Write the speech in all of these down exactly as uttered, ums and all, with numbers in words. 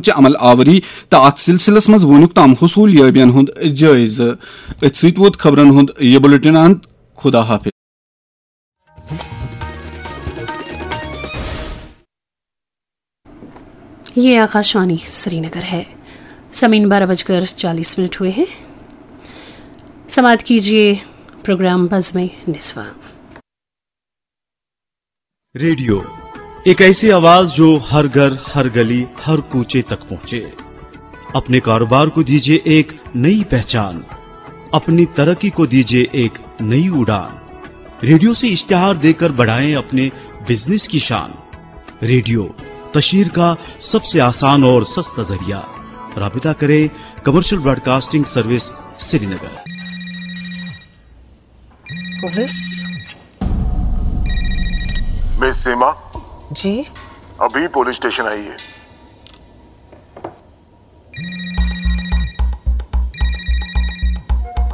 چہِ عمل آوری تہٕ اتھ سلسلس منٛز وونُک تام حصول یٲبین ہُنٛد جٲیزٕ۔ أتھۍ سۭتۍ ووت خبرن ہُنٛد یہِ بُلٹن اند۔ خدا حافظ۔ یہ آکاشوانی سری نگر ہے۔ سمین بارہ بج کر چالیس منٹ ہوئے ہیں۔ سماعت کیجیے پروگرام بزم نسواں۔ ریڈیو، ایک ایسی آواز جو ہر گھر، ہر گلی، ہر کوچے تک پہنچے۔ اپنے کاروبار کو دیجیے ایک نئی پہچان، اپنی ترقی کو دیجیے ایک نئی اڑان۔ ریڈیو سے اشتہار دیکر بڑھائیں اپنے بزنس کی شان۔ ریڈیو، تشہیر کا سب سے آسان اور سستا ذریعہ۔ رابطہ کریں کمرشل براڈکاسٹنگ سروس، سری نگر۔ پولیس؟ مس سیما، جی؟ ابھی پولیس اسٹیشن آئیے۔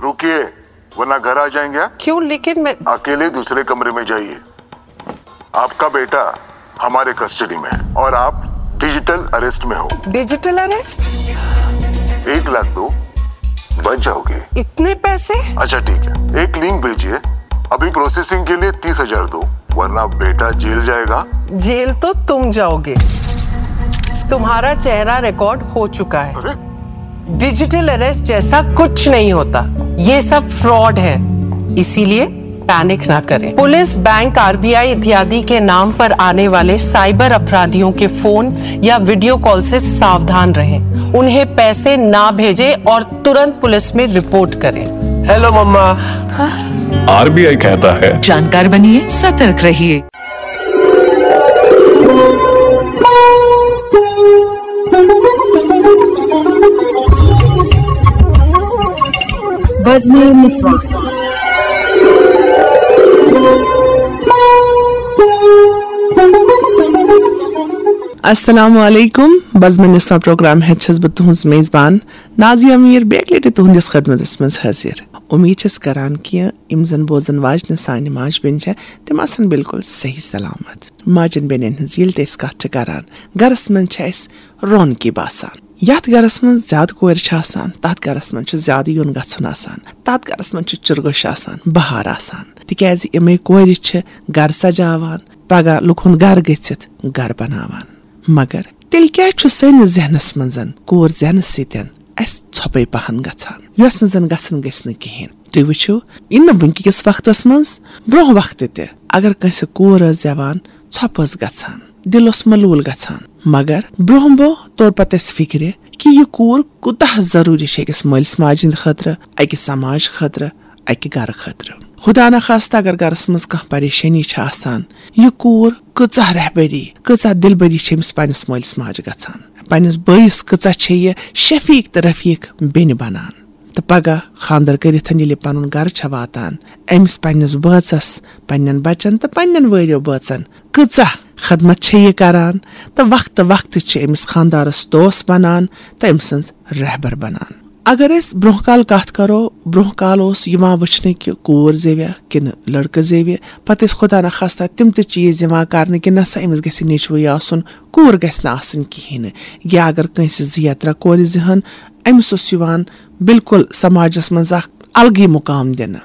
رکیے، ورنہ گھر آ جائیں گے۔ کیوں؟ لیکن میں اکیلے دوسرے کمرے میں جائیے۔ آپ کا بیٹا ہمارے کسٹڈی میں ہے اور آپ ڈیجیٹل اریسٹ میں ہو۔ Digital arrest? ایک لاکھ دو، بچ جاؤ گے۔ اتنے پیسے؟ اچھا ٹھیک ہے، ایک لنک بھیجیے، ابھی پروسیسنگ کے لیے تیس ہزار دو، ورنہ بیٹا جیل جائے گا۔ جیل تو تم جاؤ گے۔ تمہارا چہرہ ریکارڈ ہو چکا ہے۔ ارے، ڈیجیٹل اریسٹ جیسا کچھ نہیں ہوتا، یہ سب فراڈ ہے، اسی لیے پینک نہ کریں۔ پولیس، بینک، آربیآئی اتیادی کے نام پر आने वाले साइबर अपराधियों के फोन या वीडियो कॉल से सावधान रहें। उन्हें पैसे ना भेजें और तुरंत पुलिस में रिपोर्ट करें। हेलो मम्मा। आरबीआई कहता है, जानकार बनिए, सतर्क रहिए। السلام علیکم۔ بزمِ نسواں پروگرام ہیتھ چھس بہٕ تُہنٛز میزبان نازیہ میر، بیٚیہِ اَکہِ لٹہِ تُہنٛدِس خدمتس منٛز حٲضِر۔ اُمید چھس کران کہِ یِم زن بوزن واجنہِ سانہِ ماجہِ بیٚنہِ چھےٚ، تِم آسن بالکل صحیح سلامت۔ ماجن بیٚنٮ۪ن ہٕنٛز ییٚلہِ تہِ أسۍ کتھ چھِ کران، گرس منٛز چھِ اَسہِ رونقی باسان۔ یتھ گرس منٛز زیادٕ کورِ چھِ آسان، تتھ گرس منٛز چھُ زیادٕ یُن گژھُن آسان، تتھ گرس منٛز چھُ چِرگوش آسان، بہار آسان، تِکیازِ یِمے کورِ چھِ گرٕ سجاوان، پگاہ لُکن گرٕ گٔژھِتھ گرٕ بناوان۔ مگر تیٚلہِ کیازِ چھُ سٲنِس ذہنس منٛز کوٗر زینہٕ سۭتۍ اسہِ ژھۄپے پہن گژھان، یۄس نہٕ زن گژھٕنۍ گژھِ نہٕ کِہینۍ؟ تُہۍ وٕچھِو، یہِ نہٕ وٕنکہِ کِس وقتس منٛز، برونٛہہ وقتہٕ تہِ اگر کٲنٛسہِ کوٗر ٲس زٮ۪وان، ژھۄپہٕ ٲس گژھان، دِل اوس ملوٗل گژھان۔ مگر برونٛہہ برونٛہہ توٚر پتہٕ اسہِ فِکرِ کہِ یہِ کوٗر کوٗتاہ ضروٗری چھِ أکِس مٲلِس ماجہِ ہٕنٛدِ خٲطرٕ، اکہِ سماج خٲطرٕ، اکہِ گرٕ خٲطرٕ۔ خدا نخواستہ اگر گرس منٛز کانٛہہ پریشٲنی چھِ آسان، یہِ کوٗر کۭژاہ رہبری، کۭژاہ دلبری چھِ أمِس پننِس مٲلِس ماجہِ گژھان، پننِس بٲیِس کۭژاہ چھےٚ یہِ شفیق تہٕ رفیق بیٚنہِ بنان۔ تہٕ پگاہ خانٛدر کٔرِتھ ییٚلہِ پنُن گرٕ چھےٚ واتان، أمِس پننِس بٲژس، پننٮ۪ن بچن تہٕ پننٮ۪ن وٲرِو بٲژن کۭژاہ خدمت چھےٚ یہِ کران، تہٕ وقتہٕ وقتہٕ چھِ أمِس خانٛدارس دوست بنان تہٕ أمۍ سٕنٛز رہبر بنان۔ اگر أسۍ برونٛہہ کال کتھ کرو، برونٛہہ کال اوس یِوان وٕچھنہٕ کہِ کوٗر زیویہ کِنہٕ لڑکہٕ زیوِ، پتہٕ ٲسۍ خدا نخواستہ تِم تہِ چیٖز یِوان کرنہٕ کہِ نسا أمِس گژھِ نیٚچوٕے آسُن، کوٗر گژھِ نہٕ آسٕنۍ کِہینۍ نہٕ۔ یا اگر کٲنٛسہِ زٕ یا ترٛےٚ کورِ زِہن، أمِس اوس یِوان بالکل سماجس منٛز اکھ الگٕے مقام دِنہٕ۔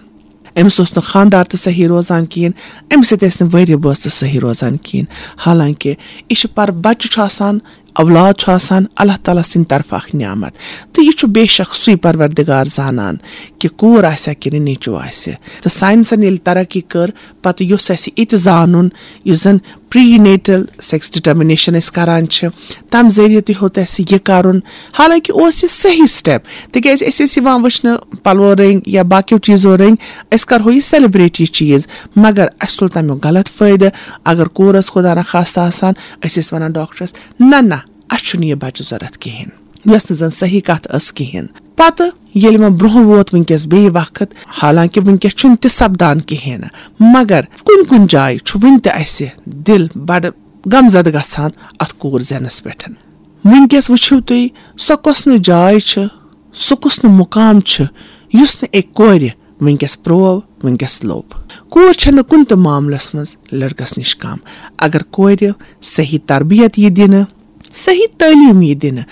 أمِس اوس نہٕ خانٛدار تہِ صحیح روزان کِہیٖنۍ، أمِس سۭتۍ ٲسۍ نہٕ وٲرِو بٲژ تہِ صحیح روزان کِہیٖنۍ۔ حالانکہِ یہِ چھُ پر بچہٕ چھُ آسان، اولاد چھُ آسان، اللہ تعالیٰ سٕنٛدِ طرفہٕ اکھ نعمت۔ تہٕ یہِ چھُ بے شک سُے پروردگار زانان کہِ کوٗر آسہِ ہا کِنہٕ نیٚچوٗ آسہِ۔ تہٕ ساینسن ییٚلہِ ترقی کٔر، پتہٕ یُس اَسہِ یہِ تہِ زانُن، یُس زن پری نیٹل سیکس ڈٹرمنیشن أسۍ کران چھِ، تمہِ ذٔریعہٕ تہِ ہیوٚت اَسہِ یہِ کرُن۔ حالانکہِ اوس یہِ صحیح سٹیپ، تِکیازِ أسۍ ٲسۍ یِوان وٕچھنہٕ پلو رٔنگۍ یا باقیو چیٖزو رٔنگۍ، أسۍ کرہو یہِ سیلیبریٹ یہِ چیٖز، مگر اَسہِ تُل تمیُک غلط فٲیدٕ۔ اگر کوٗر ٲس خدا نخواستہ آسان، أسۍ ٲسۍ ونان ڈاکٹرس، نہ نہ، اَسہِ چھُنہٕ یہِ بچہٕ ضوٚرتھ کِہینۍ، یۄس نہٕ زن صحیح کتھ ٲس کِہینۍ۔ پتہٕ ییٚلہِ وۄنۍ برونٛہہ ووت وٕنکیٚس بیٚیہِ وقت، حالانکہِ وٕنکیٚس چھُنہٕ تہِ سپدان کِہینۍ نہٕ، مگر کُنہِ کُنہِ جایہِ چھُ وٕنہِ تہِ اَسہِ دِل بڑٕ غمزدٕ گژھان اتھ کوٗر زینس پٮ۪ٹھ۔ وٕنکیٚس وٕچھِو تُہۍ، سۄ کۄس نہٕ جاے چھِ، سُہ کُس نہٕ مُقام چھُ، یُس نہٕ أکۍ کورِ وٕنکیٚس پروو، وٕنکیٚس لوٚب۔ کوٗر چھنہٕ کُنہِ تہِ معاملس منٛز لڑکس نِش کم۔ اگر کورِ صحیح تربیت یی دِنہٕ، صحیح تعلیٖم یی دِنہٕ،